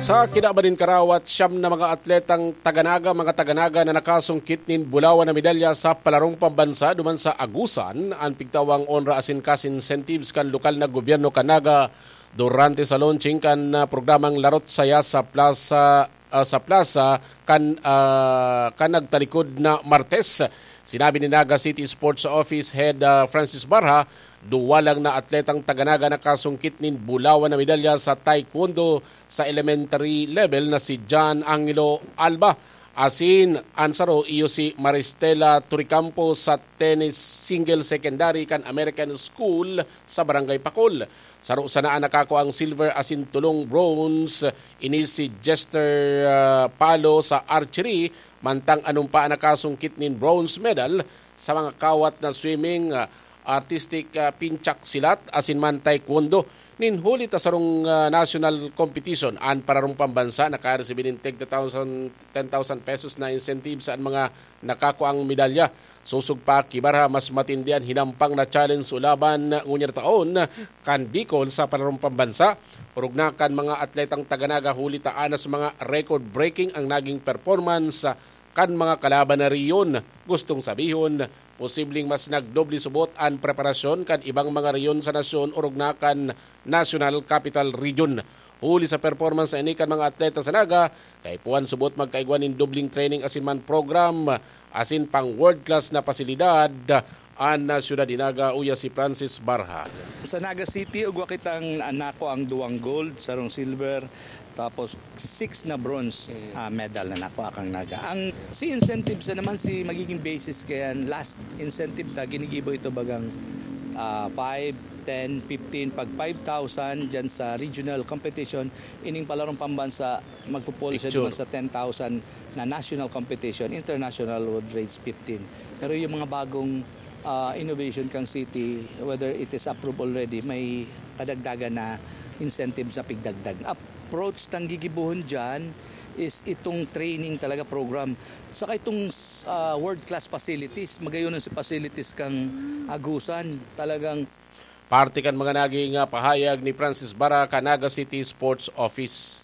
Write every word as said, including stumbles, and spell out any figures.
Sa kinaban nin karawat, siyam na mga atletang taga-Naga, mga taga-Naga na nakasungkit nin bulawan na medalya sa palarong pambansa duman sa Agusan, an pigtawang onra asin cash incentives kan lokal na gobyerno kan Naga durante sa launching kan, ah, programang Larot Saya sa Plaza, ah, sa Plaza kan, ah, kan nagtalikod na Martes. Sinabi ni Naga City Sports Office Head, ah, Francis Barha, duwa lang na atletang taga-Naga nakasungkit nin bulawan na medalya sa taekwondo sa elementary level na si John Angelo Alba. Asin an saro iyo si Maristela Turicampo sa tennis single secondary kan American School sa Barangay Pakol. Saro sana an nakakuang silver asin tolong bronze, ini si Jester, ah, Palo sa archery, mantang anumpa an nakasungkit nin bronze medal sa mga kawat na swimming, ah, artistic, ah, pinchak silat, asin man taekwondo. Nin huli ta sarong, ah, national competition, an pararong pambansa nakaresibi nin tig ten thousand, ten thousand pesos na incentive sa mga nakakuang medalya. Sosog pa ki Barha, mas matindi an hinampang na challenge o laban ngunyan taon kan Bicol sa pararong pambansa. Orog na kan mga atletang taga-Naga, huli ta anas mga record-breaking ang naging performance kan mga kalaban na riyon. Gustong sabihon, posibleng mas nagdoble subot an preparasyon kan ibang mga riyon sa nasyon orog na kan National Capital Region. Huli sa performance na ini kan mga atleta sa Naga, kaipuhan subot magkaigwa nin dobleng training asin man program asin pang world-class na pasilidad an, ah, siyudad ni Naga, uya si Francis Barha. Sa Naga City, ugwa kitang, ah, nakuang duwang gold, sarong silver, tapos six na bronze, ah, medal na nakuha kang Naga. Ang si incentives na naman si magiging basis kaya last incentive ta ginigibo ito bagang, ah, five, ten, fifteen, pag five thousand dyan sa regional competition, ining palarong pambansa magpupol siya Picture. Naman sa ten thousand na national competition, international would raise fifteen. Pero yung mga bagong, ah, innovation kang city, whether it is approved already, may kadagdagan na incentives na pigdagdag. Approach tang gigibuhon dyan is itong training talaga program. Saka itong, ah, world-class facilities, magayon si facilities kang Agusan. Talagang Parte kan mga naging, ah, pahayag ni Francis Barha kan Naga City Sports Office.